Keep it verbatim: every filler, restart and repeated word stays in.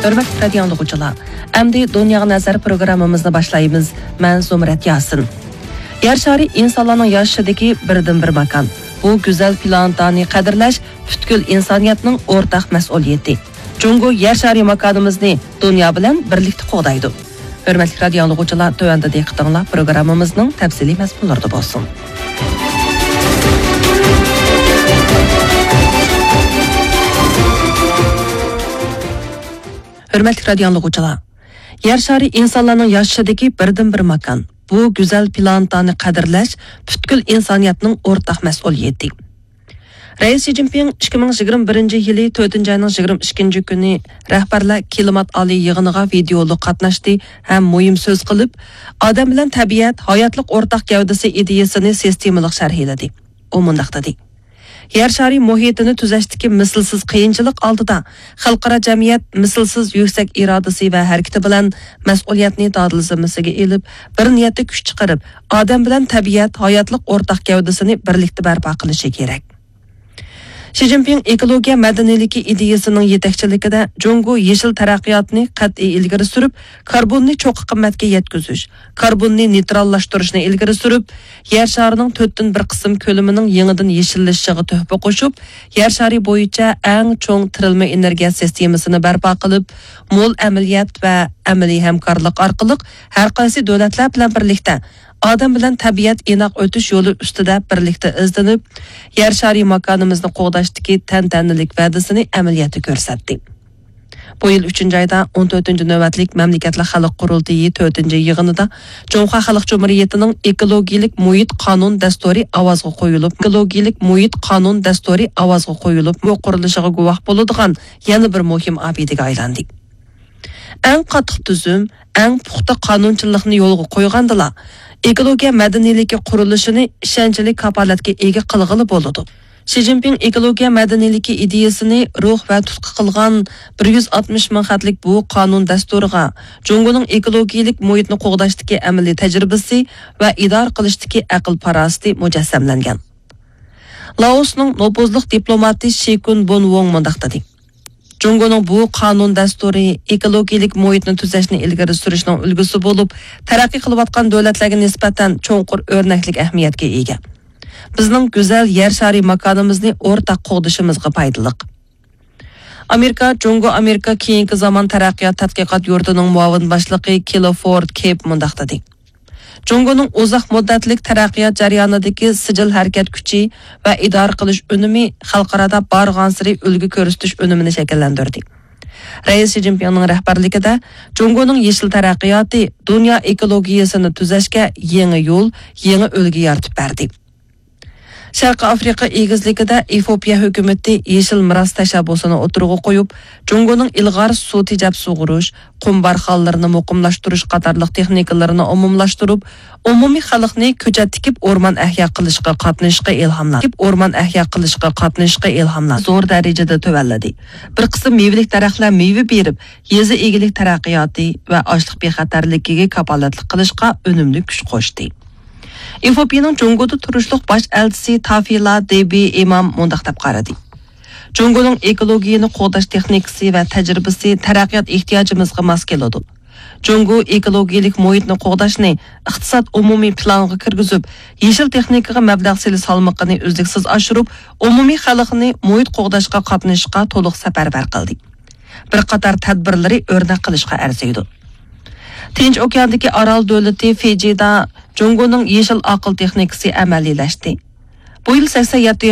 ھۆرمەتلىك رادىيو ئاڭلىغۇچىلار، ئەمدى دۇنياغا نەزەر پروگراممىمىزنى باشلايمىز. مەن زۇمرەت ياسىن. يەر شارى ئىنسانلارنىڭ ياشىشىدىكى بىردىنبىر ماكان. بۇ گۈزەل پلانېتانى قەدىرلەش پۈتكۈل ئىنسانىيەتنىڭ ئورتاق مەسئۇلىيىتى. جۇڭگو يەر شارى ماكانىمىزنى دۇنيا بىلەن بىرلىكتە قوغدايدۇ. ھۆرمەتلىك رادىيو ئاڭلىغۇچىلار، تۆۋەندە دىققىتىڭلار پروگراممىمىزنىڭ تەپسىلىي مەزمۇنلىرىدا بولسۇن. ھۆرمەتلىك رادىيو ئاڭلىغۇچىلار، يەر شارى ئىنسانلارنىڭ ياشىشىدىكى بىردىنبىر ماكان. بۇ گۈزەل پلانېتانى قەدىرلەش پۈتكۈل ئىنسانىيەتنىڭ ئورتاق مەسئۇلىيىتى. رەئىس شى جىنپىڭ ئىككى مىڭ يىگىرمە بىرىنچى يىلى تۆتىنچى ئاينىڭ يىگىرمە ئىككىنچى كۈنى رەھبەرلەر كىلىمات ئالىي يىغىنىغا ۋىدېئولۇق قاتناشتى ھەم مۇھىم سۆز قىلىپ، ئادەم بىلەن تەبىئەت ھاياتلىق ئورتاق گەۋدىسى ئىدىيىسىنى سىستېمىلىق شەرھلىدى. ئۇ مۇنداق دېدى: يەر شارى مۇھىتىنى تۈزەشتىكى مىسلىسىز قىيىنچىلىق ئالدىدا خەلقئارا جەمئىيەت مىسلىسىز يۈكسەك ئىرادىسى ۋە ھەرىكىتى بىلەن مەسئۇلىيەتنى دادىل زىممىسىگە ئېلىپ، بىر نىيەتتە كۈچ چىقىرىپ، ئادەم بىلەن تەبىئەت ھاياتلىق ئورتاق گەۋدىسىنى بىرلىكتە بەرپا قىلىشى كېرەك. شى جىنپىڭ ئېكولوگىيە مەدەنىيلىكى ئىدىيىسىنىڭ يېتەكچىلىكىدە جۇڭگو يېشىل تەرەققىياتنى قەتئىي ئىلگىرى سۈرۈپ، كاربوننى چوققا قىممەتكە يەتكۈزۈش، كاربوننى نېيتراللاشتۇرۇشنى ئىلگىرى سۈرۈپ، يەر شارىنىڭ تۆتتىن بىر قىسىم كۆلىمىنىڭ يېڭىدىن يېشىللىشىشىغا تۆھپە قوشۇپ، يەر شارى بويىچە ئەڭ چوڭ تىرىلما ئېنېرگىيە سىستېمىسىنى بەرپا قىلىپ، مول ئەمەلىيەت ۋە ئەمەلىي ھەمكارلىق ئارقىلىق ھەر قايسى دۆلەتلەر بىلەن بىرلىكتە ئادەم بىلەن تەبىئەت ئىناق ئۆتۈش يولى ئۈستىدە بىرلىكتە ئىزدىنىپ، يەر شارى ماكانىمىزنى قوغداشتىكى تەنتەنىلىك ۋەدىسىنى ئەمەلىيەتتە كۆرسەتتى. بۇ يىل ئۈچىنچى ئايدا ئون تۆتىنچى نۆۋەتلىك مەملىكەتلەر خەلق قۇرۇلتىيى تۆتىنچى يىغىنىدا جۇڭخۇا خەلق جۇمھۇرىيىتىنىڭ ئېكولوگىيىلىك مۇھىت قانۇن دەستۇرى ئاۋازغا قويۇلۇپ، ئېكولوگىيىلىق مۇھىت قانۇن دەستۇرى ئاۋازغا قويۇلۇپ، قۇرۇلۇشىغا گۇۋاھ بولىدىغان يەنە بىر مۇھىم ئابىدىگە ئايلاندى. ئەڭ قاتتىق تۈزۈم، ئەڭ پۇختا قانۇنچىلىقنى يولغا قويغاندىلا، ئېكولوگىيە مەدەنىيلىكى قۇرۇلۇشىنى ئىشەنچلىك كاپالەتكە ئىگە قىلغىلى بولىدۇ. شى جىنپىڭ ئېكولوگىيە مەدەنىيلىكى ئىدىيىسىنى روھ ۋە تۇتقا قىلغان بىر يۈز ئاتمىش مىڭ خەتلىك بۇ قانۇن دەستۇرىغا جۇڭگونىڭ ئېكولوگىيىلىك مۇھىتنى قوغداشتىكى ئەمەلىي تەجرىبىسى ۋە ئىدارە قىلىشتىكى ئەقىل-پاراسىتى مۇجەسسەملەنگەن. لائوسنىڭ نوپۇزلۇق دىپلوماتى شى كۇن بون ۋوڭ مۇنداق دېدى: جۇڭگونىڭ بۇ قانۇن دەستۇرى ئېكولوگىيىلىك مۇھىتنى تۈزەشنى ئىلگىرى سۈرۈشنىڭ ئۈلگىسى بولۇپ، تەرەققىي قىلىۋاتقان دۆلەتلەرگە نىسبەتەن چوڭقۇر ئۆرنەكلىك ئەھمىيەتكە ئىگە. بىزنىڭ گۈزەل يەر شارى ماكانىمىزنى ئورتاق قوغدىشىمىزغا پايدىلىق. ئامېرىكا، جۇڭگو ئامېرىكا كېيىنكى زامان تەرەققىيات تەتقىقات يۇرتىنىڭ مۇئاۋىن باشلىقى كىلفورد كېپ مۇنداق دېدى: جۇڭگونىڭ ئۇزاق مۇددەتلىك تەرەققىيات جەريانىدىكى سىجىل ھەرىكەت كۈچى ۋە ئىدارە قىلىش ئۈنۈمى خەلقئارادا بارغانسېرى ئۈلگە كۆرسىتىش ئۈنۈمىنى شەكىللەندۈردى. رەئىس شى جىنپىڭنىڭ رەھبەرلىكىدە جۇڭگونىڭ يېشىل تەرەققىياتى دۇنيا ئېكولوگىيەسىنى تۈزەشكە يېڭى يول، يېڭى ئۈلگە يارىتىپ بەردى. شەرقىي ئافرىقا ئېگىزلىكىدە ئېفىوپىيە ھۆكۈمىتى يېشىل مىراس تەشەببۇسىنى ئوتتۇرىغا قويۇپ، جۇڭگونىڭ ئىلغار سۇ تېجەپ سۇغۇرۇش، قۇم بارخانلىرىنى مۇقىملاشتۇرۇش قاتارلىق تېخنىكىلىرىنى ئومۇملاشتۇرۇپ، ئومۇمىي خەلقنى كۆچەت تىكىپ ئورمان ئەھيا قىلىشقا قاتنىشىشقا ئىلھاملاندى. تىكىپ ئورمان ئەھيا قىلىشقا قاتنىشىشقا ئىلھاملاندى. زور دەرىجىدە تۆۋەنلىدى. بىر قىسىم مېۋىلىك دەرەخلەر مېۋە بېرىپ، يېزا ئىگىلىك تەرەققىياتى ۋە ئاشلىق بىخەتەرلىكىگە كاپالەتلىك قىلىشقا ئۈنۈملۈك كۈچ قوشتى. ئېفىئوپىيىنىڭ جۇڭگودا تۇرۇشلۇق باش ئەلچىسى تافىلا دېبى ئىمام مۇنداق دەپ قارىدى: جۇڭگونىڭ ئېكولوگىيەنى قوغداش تېخنىكىسى ۋە تەجرىبىسى تەرەققىيات ئېھتىياجىمىزغا ماس كېلىدۇ. جۇڭگو ئېكولوگىيەلىك مۇھىتنى قوغداشنى ئىقتىساد ئومۇمىي پىلانىغا كىرگۈزۈپ، يېشىل تېخنىكىغا مەبلەغ سېلىش سالمىقىنى ئۈزلۈكسىز ئاشۇرۇپ، ئومۇمىي خەلقنى مۇھىت قوغداشقا قاتنىشىشقا تولۇق سەپەرۋەر قىلدى. بىر قاتار تەدبىرلىرى ئۆرنەك قىلىشقا ئەرزىيدۇ. تىنچ ئوكياندىكى ئارال دۆلىتى فىجىدا جۇڭگونىڭ يېشىل ئاقىل تېخنىكىسى ئەمەلىيلەشتى. بۇ يىل سەكسەن يەتتە